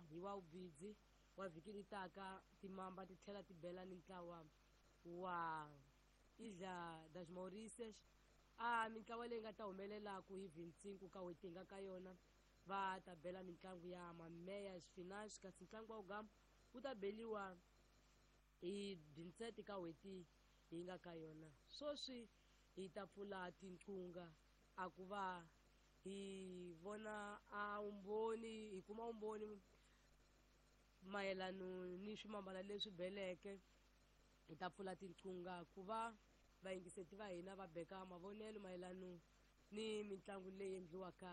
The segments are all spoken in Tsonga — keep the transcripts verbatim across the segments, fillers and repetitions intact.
vuya hi wa vubidzi wa vhiki ri taka timamba ti tlhela ti bela ni ntlawa wa Ilha das Mauritius. A mintlawa leyi nga ta humelelaku hi vintsinku ka n'hweti hi nga ka yona va ta bela mitlangu ya mameyas finance, kasi ntlangu wa ugamba wu ta beliwa hi binsete ka n'hweti hi nga ka yona. Sweswi hi ta pfula tinqunga a ku va hi vona a vumbhoni, hi kuma vumbhoni mayelano ni swimambana leswi beleke. Hi ta pfula tinqunga ku va vayingiseti va hina va beka mavonelo mayelano ni mitlangu leyi endliwaka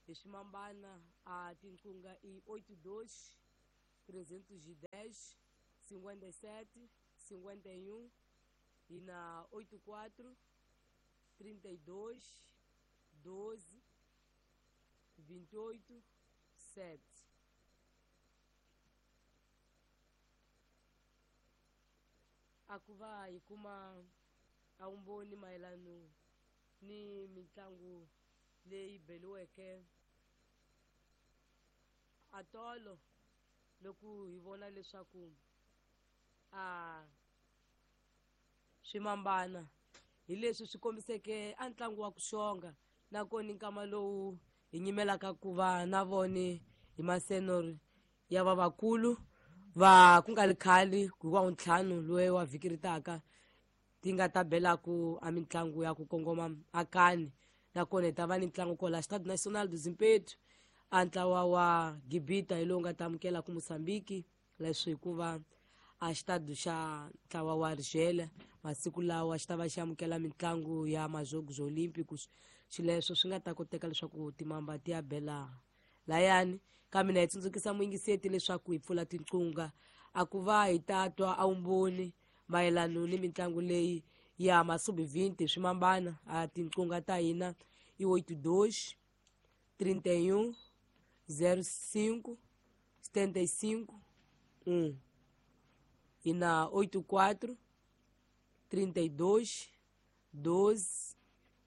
hi swimambana. A tinqunga i oito dois trezentos e dez cinquenta e sete cinquenta e um e na oito quatro trinta e dois doze vinte e oito sete. A ku va hi kuma a vumbhoni mayelano ni mitlangu leyi beliweke a tolo, loko hi vona leswaku a swimambana hi leswi swi kombiseke a ntlangu wa ku xonga, nakona nkama lowu hi nyimelaka ku va na vone hi masenori ya vavakulu va ku nga ri khale ku wa ntlhanu loyi wa vhiki ri taka ti nga ta belaku a mitlangu ya ku kongoma akani. Nakona hi ta va ni ntlangu kwala Stade National do Zimpeto, a ntlawa wa Gibita hi lowu nga ta amukela ku Mozambique, leswi hikuva a xitadi xa ntlawa wa Argelia masiku lawa xi ta va xi amukela mitlangu ya Majogos Olímpicos. Xileswo swi nga ta koteka leswaku timamba ti ya bela layani. Kambe na hi tsundzukisa muyingiseti leswaku hi pfula tinqunga a ku va hi ta twa a vumbhoni mayelano ni mitlangu leyi ya masubi vinte swimambana. A tinqunga ta hina i oito dois trinta e um zero cinco setenta e cinco um e na oito quatro trinta e dois doze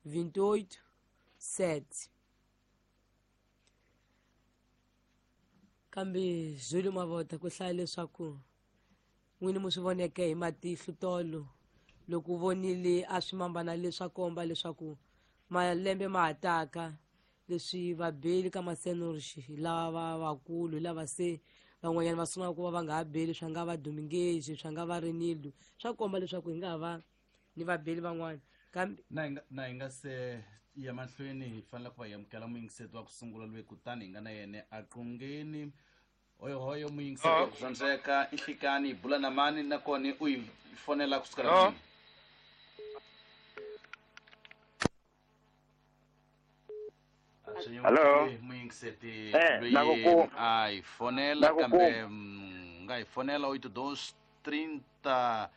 vinte e oito sete. Kambe Júlio Mavota ku hlaya leswaku n'wini mu swi voneke hi matihlo tolo loko u vonile a swimambana leswa komba leswaku malembe ma ha taka, leswi vabeli ka masenorixi hi lava vakulu, hi lava se van'wanyana va sungula ku va va nga ha beli, swa nga va Dominguez, swa nga va Renildo, swa komba leswaku hi nga ha va ni vabeli van'wana. Kambe na hi nga na hi nga se ya mahlweni hi fanele ku va hi amukela muyingiseti wa ku sungula loyi kutani hi nga na yena a qungeni. Hoyohoyo muyingiseti wa ku rhandzeka i nhlikani, hi bula na mani nakona u hi fonela kusukela kwini? Hello. Muyingiseti Eh, loyi nakuku- a hi fonela nakuku- kambe mm, nga hi fonela oito dois trinta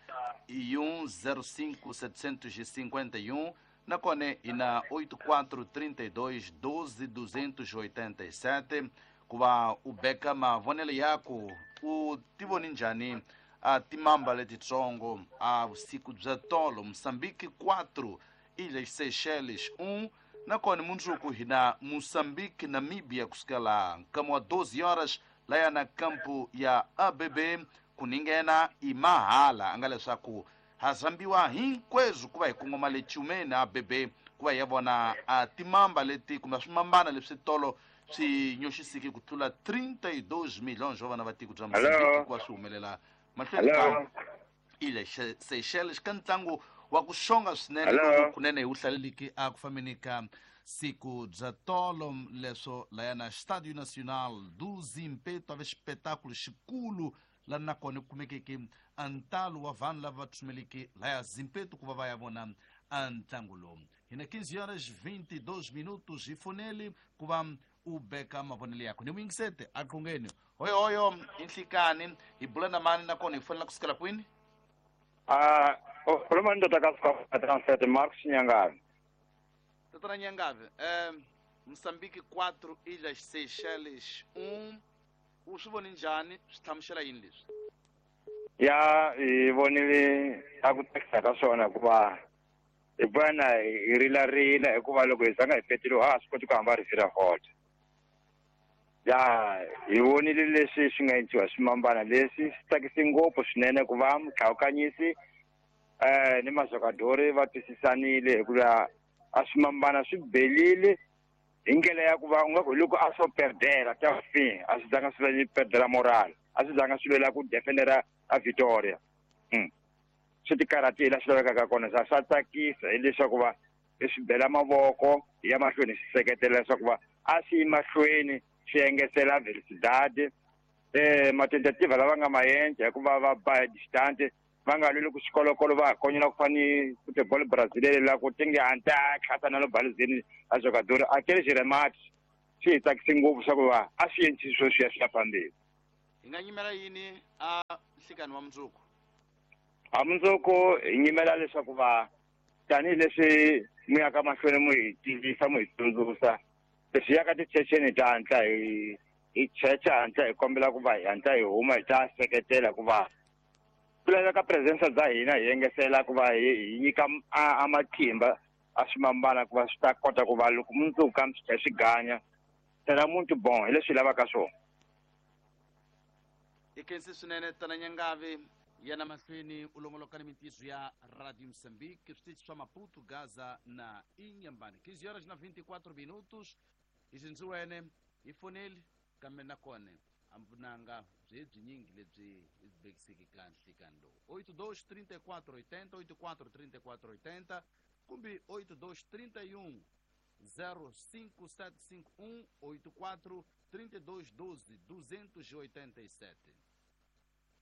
e um zero cinco setecentos e cinquenta e um, nakona hi na oito quatro trinta e dois doze duzentos e oitenta e sete ku va u beka mavonelo yaku u ti voni njhani a timamba letitsongo a vusiku bya tolo Moçambique quatro, Ilhas Seychelles um, nakona mundzuku hi na Moçambique Namíbia kusukela nkama wa doze horas laya na kampu ya A B B ku ninghena i mahala a nga leswaku ha zambiwa hinkweswo ku va hi kongoma le Chumeni A B B ku va hi ya vona a timamba leti kumbe swimambana leswi tolo swi nyoxisiki ku tlula trinta e dois milhões wa vana va tiko bya Mozambique ku va swi humelela mahlweni ka Ilhas Seychelles ka ntlangu wa ku xonga swinene lowu kunene hi wu hlaleliki a ku fambeni ka siku bya tolo leswo laya na Estádio Nacional do Zimpeto a ve xipetáculo xikulu la nakona ku kumekeke a ntalo wa vanhu lava va tsumeleke laya Zimpeto ku va va ya vona a ntlangu lowu. Hi na quinze horas vinte e dois minutos hi foneli ku va u beka mavonelo yakho ni muyingisete a qungeni. Hoyohoyo i nhlikani hi bula na mani nakona hi fonela kusukela kwini? Ah, u khuluma ni ndoda ka Transfer Marcos Nyangavi. Tatana Nyangavi, eh, Moçambique quatro, Ilhas Seychelles um, u swi voni njhani, swi hlamusela yini leswi? Ya, hi vonile a ku tsakisa ka swona hikuva hi vona hi rilarila hikuva loko hi zanga hi petile ha swi koti ku hamba ri vira hot. Ya hi vonile leswi swi nga endliwa swimambana leswi swi tsakise ngopfu swinene ku va mutlhawukanyisi eh ni mazokadori va twisisanile hikuva a swimambana swi belile hi ndlela ya ku va u nga ku hi loko a swo perdela ta fin a swi zanga swi lwela perdela moral a swi zanga swi lwela ku defendera a Victoria mm. Swi ti karhatile swi lavekaka kona swa swa tsakisa hileswaku va hi swi bela mavoko hi ya mahlweni swi seketela leswaku va a swi yi mahlweni swi engetela velocidade eh matentativa lava nga maendla hikuva va ba hi distance va nga lweli ku xikolokolo va konyela ku fana ni football brasileiro la ku tinge anta tlhasa na lo baluzini a jogador aquele remate swi hi tsakise ngopfu swa ku va a swi endli swo swi ya swi ya phambili. Hi nga nyimela yini a nhlikani wa mundzuku? A mundzuku hi nyimela leswaku va tanihileswi mu yaka mahlweni mu hi tivisa mu hi tsundzuxa leswi yaka tichecheni ta hatla hi hi checha hatla hi kombela ku va hi hatla hi huma hi ta seketela ku va ku laveka presence bya hina hi engesela ku va hi nyika a matimba a swimambana ku va swi ta kota ku va loko mundzuku ka swi tlhela swi ganya será muito bom hi leswi hi lavaka swona. I khensi swinene tana Nyangavi yana mahlweni u longoloka ni mintiso ya Radio Moçambique switichi swa Maputo, Gaza na Inhambane. quinze horas na vinte e quatro minutos hi xindziwene hi foneli kambe nakona a vunanga byi byinyingi lebyi hi byi bekiseke ka nhlikani lowu oito dois trinta e quatro oitenta oito quatro trinta e quatro oitenta kumbe oito dois trinta e um zero cinco sete cinco um oito quatro trinta e dois doze duzentos e oitenta e sete.